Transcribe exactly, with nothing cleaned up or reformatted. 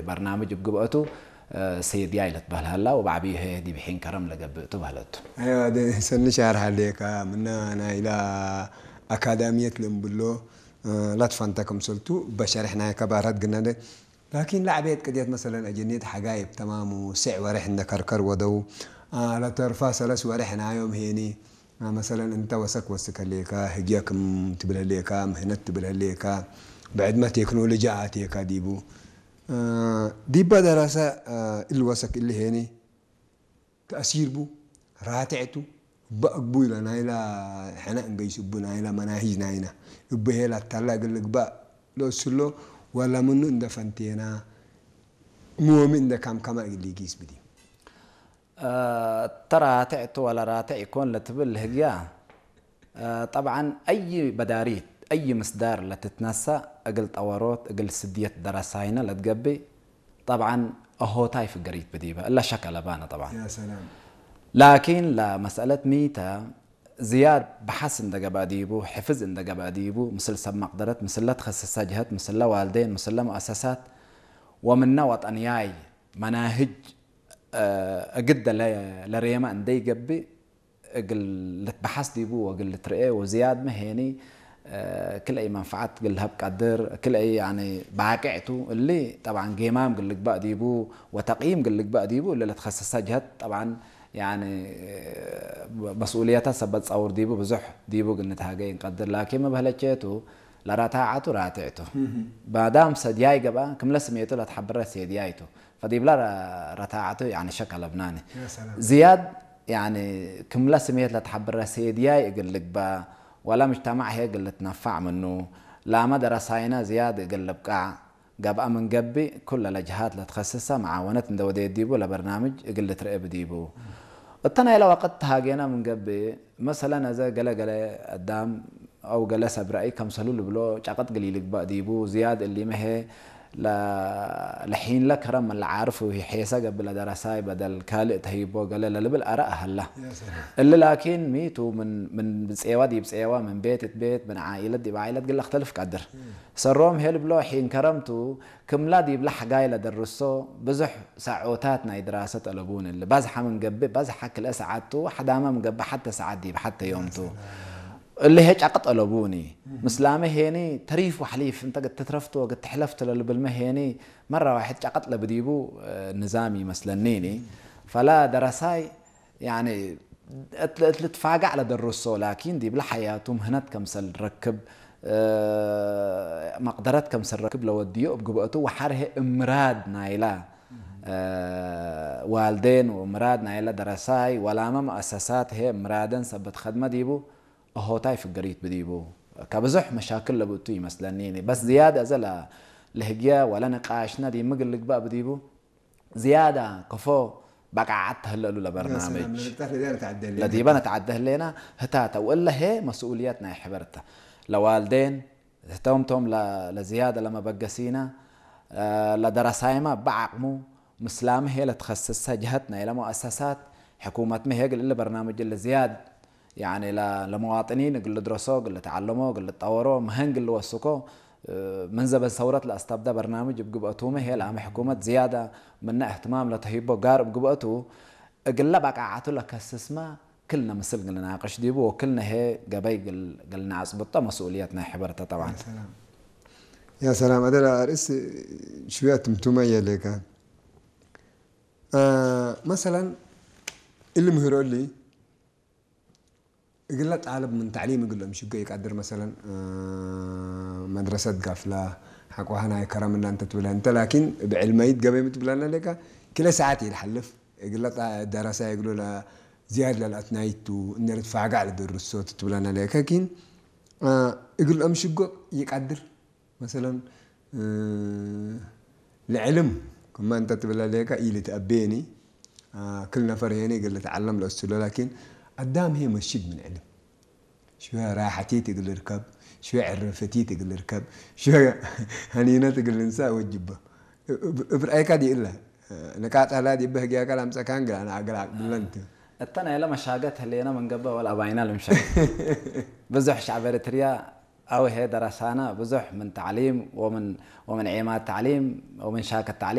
በርናምጅ እብ ግብአቱ፣ እ፣ ሴድያይ ለትበህል ሀላ፣ ወበዐቢዩ ህዬ ዲብ ሒን ከረም ለገብእ ቱ በህለት ቱ። አይዋ፣ ደ-፣ ሰኒ ሻርሕ ሀሌከ፣ ምነ ናይላ አካዳምየት ለእምብሎ፣ እ፣ ለትፈንተ ክምሰልቱ፣ በሸርሕ ናይ ከባርሀት ግነደ። ላኪን ለዐቤት ቅድየት መሰለን አጀኔት ሐጋይ እብ ተማሙ፣ ስዕ ወሬሕ እንደ ከርከር ወደው፣ አ፣ ለተርፋ ሰለስ ወሬሕ ናዮም ሄኒ፣ አ፣ መሰለን እንተ ወሰክ ወስክ ህሌከ፣ ህግየ ክም ትብል ህሌከ፣ ምህነት ትብል ህሌከ፣ ብዕድመ ቴክኖሎጂ አቴከ ዲቡ። እ፣ ዲበ ደረሰ፣ እ፣ እሊ ወሰክ እሊ ሄኒ ተእሲር ቡ፣ ራትዕ ቱ፣ እበ አግቡይ ለናይላ ሕነ እንገይስ እቡ ናይላ መናሂጅ ናይና፣ እቡ ሄ ላታላ እግል ልግባእ ለእስሎ፣ ወለ ምኑ እንደ ፈንቴና፣ ምወሚ እንደ ካምካማ እግል ሊጊስ ብዲ። እ፣ እተ ራትዕ ቱ ወለ ራትዕ ኢኮን ለትብል ህግያ፣ እ፣ ጠብዓን፣ አይ በዳሪት፣ አይ ምስዳር ለትትነሰእ፣ እግል ጠወሮት፣ እግል ስድየት ደረሳይነ ለትገብእ፣ ጠብዓን፣ አሆታይ ፍገሪት ብዲበ፣ እለ ሸክ አለባነ ጠብዓን። ያ ሰላም። ላኪን፣ ለመስአለት ሚተ ዝያድ በሐስ እንደ ገብአ ዲቡ፣ ሕፍዝ እንደ ገብአ ዲቡ፣ ምስል ሰብ መቅደረት፣ ምስለ ተኸሰሰ ጀሀት፣ ምስለ ዋልዴን፣ ምስለ ሙአሰሳት፣ ወምነ ወጠንያይ መናህጅ፣ እ፣ እግደ ለ-፣ ለሬመ እንደ ይገብእ፣ እግል ልትበሐስ ዲቡ ወእግል ልትርኤ ወዝያድመ ሄኒ፣ እ፣ ክልአይ መንፈዓት እግል ለሀብ ቀድር፣ ክልአይ ያኒ ባቅዕ ቱ። እሊ ጠብዓን ጌማም እግል ልግባእ ዲቡ ወተቅይም እግል ልግባእ ዲቡ፣ እሊ ለትከሰሰ ጀሀት ጠብዓን ያኒ መስኡልየተ ሰበት ጸውር ዲቡ ብዙሕ ዲቡ እግል ንትሃገይ እንቀድር። ላኪን ሚ በህለቼ ቱ ለረታዐቱ ራትዕ ቱ። ማዳም ሰድያይ ገብአ ክምለ ስሜቱ ለትሐብረ ሴድያይ ቱ። ፈዲብላ ረ-፣ ረታዐቱ ያኒ ሸክ አለብናኒ። ያ ሰላም። ዝያድ ያኒ ክምለ ስሜት ለትሐብረ ሴድያይ እግል ልግበእ፣ ወለ ምጅተማዕ ህዬ እግል ልትነፋዕ ምኑ፣ ላመ ደረሳይነ ዝያድ እግል ልብቃዕ ገብአ ምን ገብእ፣ ኩለ ለጀሃት ለትከስሰ መዓወነት እንደ ወዴት ዲቡ ለበርናምጅ እግል ልትርኤ ብዲቡ። እተ ናይለ ወቅት ተሃጌነ ምን ገብእ፣ መሰለን፣ አዜ ገሌ ገሌ አዳም አው ገሌ ሰብ ረአይ ከምሰሉ ልብሎ ጨቅጥ እግል ኢልግበእ ዲቡ። ዝያድ እሊመ ህዬ ለ-፣ ለሒንለ ከረም ምን ለዓርፍ ወሔሰ ገብእ ለደረሳይ በደል ካልእ ተህይቦ ገሌ ለልብል አረእ ሀላ። ያ ሰላም። እሊ ላኪን ሚ ቱ ምን፣ ምን ብጼወ ዲብ ጼወ፣ ምን ቤት እት ቤት፣ ምን ዓኢለት ዲብ ዓኢለት እግል ለክተልፍ ቀድር። እም። ሰሮም ህዬ ልብሎ ሒን ከረም ቱ፣ ክምላ ዲብለ ሐጋይ ለደርሶ ብዙሕ ሰዖታት ናይ ድራሰ ጠለቡኒ። እሊ በዝሐ ምን ገብእ በዝሐ ክልኤ ሰዓት ቱ፣ ሐዳመ ምን ገብእ ሐቴ ሰዓት ዲብ ሐቴ ዮም ቱ። እሊ ህዬ ጨቅጥ ጠለቡኒ። ምስላመ ሄኒ ተሪፍ ወሐሊፍ እንተ እግል ትትረፍ ቱ ወእግል ትሕለፍ ቱ ለልብልመ ሄኒ መረ ዋሕድ ጨቅጥ ለብዲቡ፣ እ፣ ንዛም ይመስለኒኒ። ፈላ ደረሳይ ያኒ እት፣ እት ልትፋጋዕ ለደርሶ፣ ላኪን ዲብለ ሐያቱ ምህነት ከምሰል ረክብ፣ እ፣ መቅደረት ከምሰል ረክብ ለወድዮ እብ ግብአቱ ወሐር ህዬ እምራድ ናይላ፣ እ፣ ዋልዴን ወምራድ ናይላ ደረሳይ ወላመ መአሰሳት ህዬ እምራደን ሰበት ከድመ ዲቡ፣ አሆታይ ፍገሪት ብዲቡ። ከብዙሕ መሻክል ለብእቱ ይመስለኒኒ። በስ ዝያድ አዜ ለ-፣ ለህግየ ወለ ንቃሽነ ዲብ ምግል ልግበእ ብዲቡ፣ ዝያዳ ከፎ በቃዓት ተህለ እሉ ለበርናምጅ። ያ ሰላም፣ ለንቅጣት ለዲበ ነትዐደ ህሌነ። ለዲበ ነትዐደ ህሌነ ህታተ፣ ወእለ ህዬ መስኡልየት ናይ ሕበር ተ። ለዋልዴን ህቶም ቶም ለ-፣ ለዝያዳ ለመበገሲነ፣ እ፣ ለደረሳይመ እበ ዐቅሙ፣ ምስላመ ህዬ ለትከስሰ ጀሀት ናይለ መአሰሳት፣ ሕኩመትመ ህዬ እግል እሊ በርናምጅ እሊ ዝያድ ያኒ ለ-፣ ለመዋጥኒን እግል ልድረሶ፣ እግል ልትዐለሞ፣ እግል ልጠወሮ፣ መሀን እግል ልወስኮ፣ እ፣ ምን ዘበን ሰውረት ለአስተብደ በርናምጅ እብ ግብአቱመ ህዬ ለአመ ሕኩመት ዝያደ ምነ እህትማም ለተህይቦ ጋር እብ ግብአቱ፣ እግለ በቃዓቱ ለከስስመ ክልነ ምስል እግል ልናቅሽ ዲቡ ወክልነ ህዬ ገበይ እግል፣ እግል ነአጽብጦ መስኡልየት ናይ ሕበር ተ ጠብዓን። ያ ሰላም። ያ ሰላም። አደ ለአርእስ ሽውየ ትምቱመ የሌከ። አ፣ መሰለን እሊ ምህሮ እሊ እግለ ጣልብ ምን ተዕሊም እግል ለምሽጎ ኢቀድር፣ መሰለን፣ እ፣ መድረሰት ጋፍላ፣ ሐቆሀ ናይ ከረም እለ እንተ ትብለ እንተ፣ ላኪን እብ ዕልመይት ገበይ ምን ትብለነ ሌከ፣ ክለ ሰዓት ኢልሐልፍ፣ እግለ ጣ-፣ ደረሳይ እግሉ ለዝያድ ለልአትናይቱ፣ እንዴ ልትፋጋዕ ለደርሶ ትትብለነ ሌከ፣ ኪን፣ እ፣ እግል ለምሽጎ ኢቀድር። መሰለን፣ እ፣ ለዕልም ክመ እንተ ትብለ ሌከ ኢልትአቤኒ፣ አ፣ ክል ነፈር ሄኒ እግል ልትዐለም ለእስሎ፣ ላኪን አዳም ህዬ መስጅድ ምን ዕልም። ሽወ ራሐቲት እግል ልርከብ፣ ሽወ ዕርፍቲት እግል ልርከብ፣ ሽወ ሀኒነት እግል ልንሳእ ወጅበ። እብ፣ እብ ረአይከ ዲእለ ንቃጥ ሀላ ዲበ ህግያከ ለአምጸካን ግል አነ አግል አቅብለን ቱ። እተ ናይለ መሻገት ህሌነ ምን ገብእ ወለአባይና ልምሸክ። ብዙሕ ሸዕብ ኤሪትርያ አው ህዬ ደረሳነ ብዙሕ ምን ተዕሊም ወምን፣ ወምን ዔማት ተዕሊም ወምን ሻከት ተዕሊም